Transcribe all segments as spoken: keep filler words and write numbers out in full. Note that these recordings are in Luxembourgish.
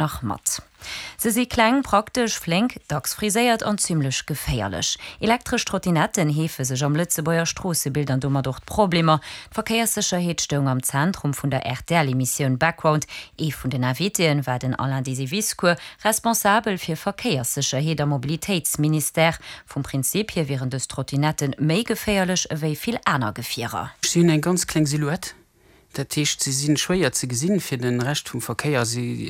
nach mat. Se si kleng, praktesch, flénk, dacks friséiert an zimmlech geféierlech. Elektresch Trottinetten heefe sech am Lëtzebuerger Stroossebild an domat och d'Problemer. D'Verkéierssécherheet stoung am Zentrum vun der R T L-Emissioun Background. Ee vun den Invitéen war den Alain Disiviscour, responsabel fir Verkéierssécherheet am Mobilitéitsministère. Vum Prinzip hier wieren dës Trottinetten méi geféierlech ewéi vill aner Gefierer. Si hunn eng ganz kleng Silhouette. Dat heescht, se sinn schwéier ze gesinn fir de Rescht vum Verkéier. Si,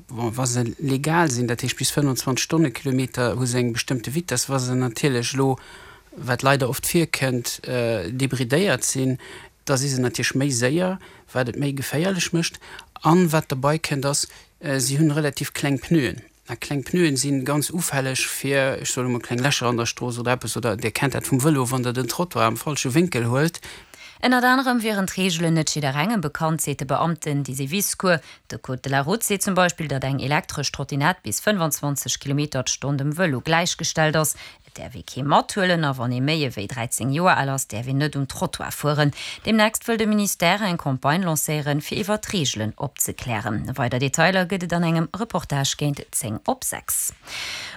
wa se legal sinn, dat heescht bis fënnfanzwanzeg Stonnekilometer, hu se eng bestëmmte Vitess. Wa se natierlech elo, wat leider oft virkënnt, débridéiert sinn, da si se natierlech méi séier, wat et méi geféierlech mécht. An wat derbäi kënnt ass, si hunn relativ kleng Pneuen. A kleng Pneuen si ganz ufälleg fir, ech soe mol, kleng Lächer an der Strooss oder eppes, oder Dir kennt dat vum Vëlo, wann Der den Trottoir am falsche Wénkel huelt. Ënnert anerem wieren d'Reegelen net jidderengem bekannt, seet de Beamten Disiviscour. De Code de la Route seet zum Beispill, datt eng elektresch Trottinett bis fënnfanzwanzeg Kilometer d'Stonn dem Vëlo gläichgestallt ass. Et däerf ee kee mathuelen a wann ee méi ewéi dräizéng Joer al ass, däerf een net um Trottoir fueren. Deemnächst wëll de Ministère eng Campagne lancéieren, fir iwwer d'Reegelen opzeklären. Weider Detailer gëtt et an engem Reportage géint zéng op sechs.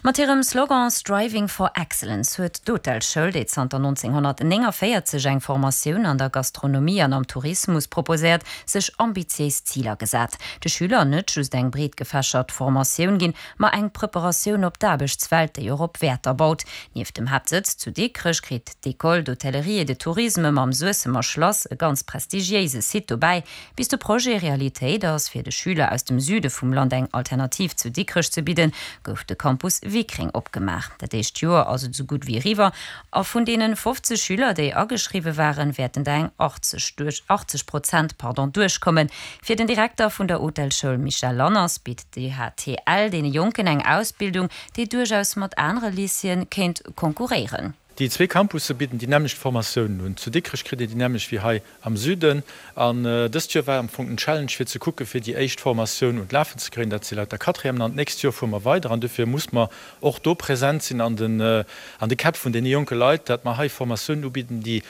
Mat hirem Slogan Striving for Excellence huet d'Hotelschoul, déi zanter nonzénghonnertnénganvéierzeg eng Formatioun an der Gastronomie an am Tourismus proposéiert, sech ambitiéis Ziler gesat. De Schüler net just eng breet gefächert Formatioun ginn, ma eng Preparatioun op d'Aarbechtswelt, déi och op Wäerter baut. Nieft dem Haaptsëtz zu Dikrech kritt d'École d'Hôtellerie et de Tourisme mam Suessemer Schlass e ganz prestigiéise Site dobäi. Bis de Projet Realitéit ass, fir de Schüler aus dem Süde vum Land eng Alternativ zu Dikrech ze bidden, gouf de Campus Wickreng opgemaach. Dat éischt Joer ass esou gutt wéi eriwwer a vun deene fofzeg Schüler, déi ageschriwwe waren, wäerten der eng achtzeg duerch, achtzeg Prozent, pardon, duerchkommen. Fir den Direkter vun der Hotelschoul Michel Lanners bitt d'E H T L deene Jonken eng Ausbildung, déi duerchaus mat anere Lycéeë kéint konkurréieren. Déi zwee Campusse bidden déi nämmlecht Formatiounen un. Zu Dikrech kritt een déi nämmlecht wéi hei am Süden. An dëst Joer war am Fong den Challenge fir ze kucke fir déi éischt Formatioun un d'Lafen ze kréien, dat si lauter Quatrièmen, an d'nächst Joer fuere mer weider an dofir muss mer och do present sinn an den an de Käpp vun deene jonke Leit, dat mer hei Formatiounen ubidden, déi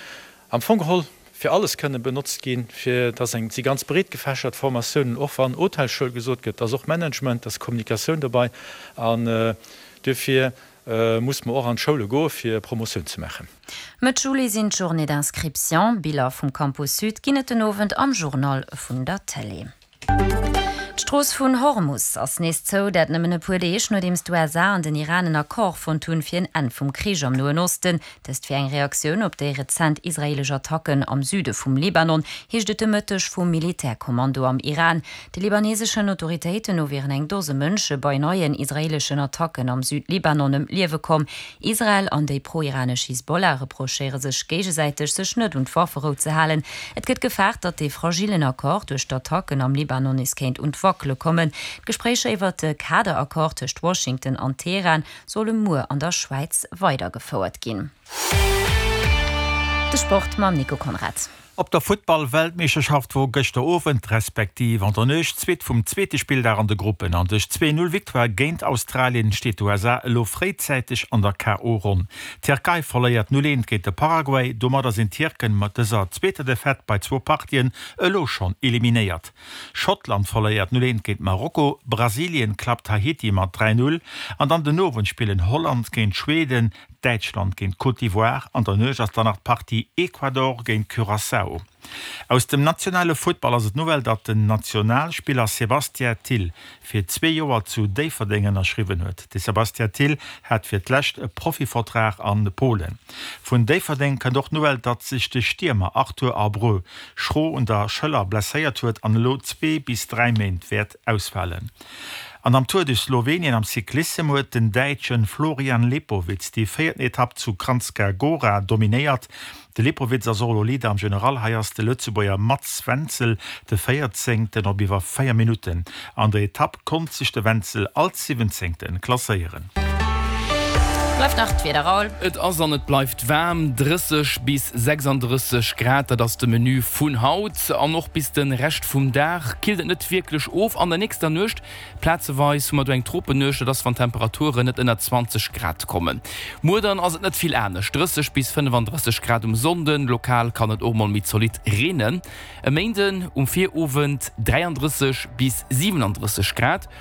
am Fong geholl fir alles kënne benotzt ginn, fir dass eng si ganz breet gefächert Formatiounen, och wann Hotelschoul gesot gëtt, da ass och Management, da ass Kommunikatioun dobäi an duerfir muss mer och an d'Schoule goe fir Promotioun ze maachen. Mëtt Juli sinn d'Journées d'inscription. Biller vum Campus Sud ginn et den Owend am Journal vun der Télé. D'Strooss vun Hormus ass nees zou, dat nëmmen e puer Deeg nodeems d'U S A an den Iran en Accord fonnt hunn fir en Enn vum Krich am Noen Osten. Dëst wier eng Reaktioun op déi rezent israeelesch Attacken am Süde vum Libanon, heescht et de Mëtteg vum Militärkommando am Iran. De libaneseschen Autoritéiten no wieren eng Dose Mënsche bei neien israeeleschen Attacken am Südlibanon ëm d'Liewe komm. Israel an déi pro-iranesch Hisbollah reprochéiere sech géigesäiteg, sech net un d'Wafferou ze halen. Et gëtt gefaart, datt dee fragillen Accord duerch d'Attacken am Libanon nees kéint un d'Wackele kommen. D'Gespréicher iwwer de Kaderaccord tëscht Washington an Teheran solle muer an der Schwäiz weidergefouert ginn. De Sport mam Nico Conrad. Op der Futtball-Weltmeeschterschaft wor gëschter Owend respektiv an der Nuecht d'Zweet vum zweete Spilldag an de Gruppen an duerch zwee Null Victoire géint Australien steet d'U S A elo fréizäiteg an der K O. Ronn. D'Tierkei verléiert null eent géint de Paraguay, domadder sinn d'Tierken mat dëser zweeter Defaite bei zwou Partien elo schonn eliminéiert. Schottland verléiert null eent géint Marokko, Brasilien klappt Haiti mat dräi Null an dann den Owend spillen Holland géint Schweden, Däitschland géint Côte d'Ivoire, an der Nuecht ass dann nach d'Partie Ecuador géint Curaçao. Aus dem nationale Futtball ass et d'Nouvelle, datt den Nationalspiller Sébastien Thill fir zwee Joer zu Déifferdeng ënnerschriwwen huet. De Sébastien Thill hat fir d'lescht e Profivertrag an Polen. Vun Déifferdeng kënnt och d'Nouvelle, datt sech de Stiermer Arthur Abreu schro un der Schëller blesséiert huet an elo zwee bis dräi Méint wäert ausfalen. An am Tour de Slowenien am Cyclissem huet den Däitsche Florian Lipowitz déi véierten Etapp zu Kranjska Gora dominéiert. De Lipowitz ass och elo Leader am General, hei ass de Lëtzebuerger Mats Wenzel de Véierzéngten op iwwer véier Minutten. An der Etapp konnt sech de Wenzel als Siwwenzéngte klasséieren. Bleift nach d'Wieder, Raoul. Et ass an et bleift waarm, drësseg bis sechsandrësseg Grad, dat ass de Menü vun haut an och bis de Rescht vum Dag killt et net wierklech of. An der nächster Nuecht plazeweis hu mer do eng Tropennuecht, dat ass wann d'Temperaturen net ënner zwanzeg Grad kommen. Muer dann ass et net vill anescht, drësseg bis fënnefandrësseg Grad um Sonnden, lokal kann et och mol méi zolidd reenen. E Méinden um Virowend dräiandrësseg bis siwenandrësseg Grad.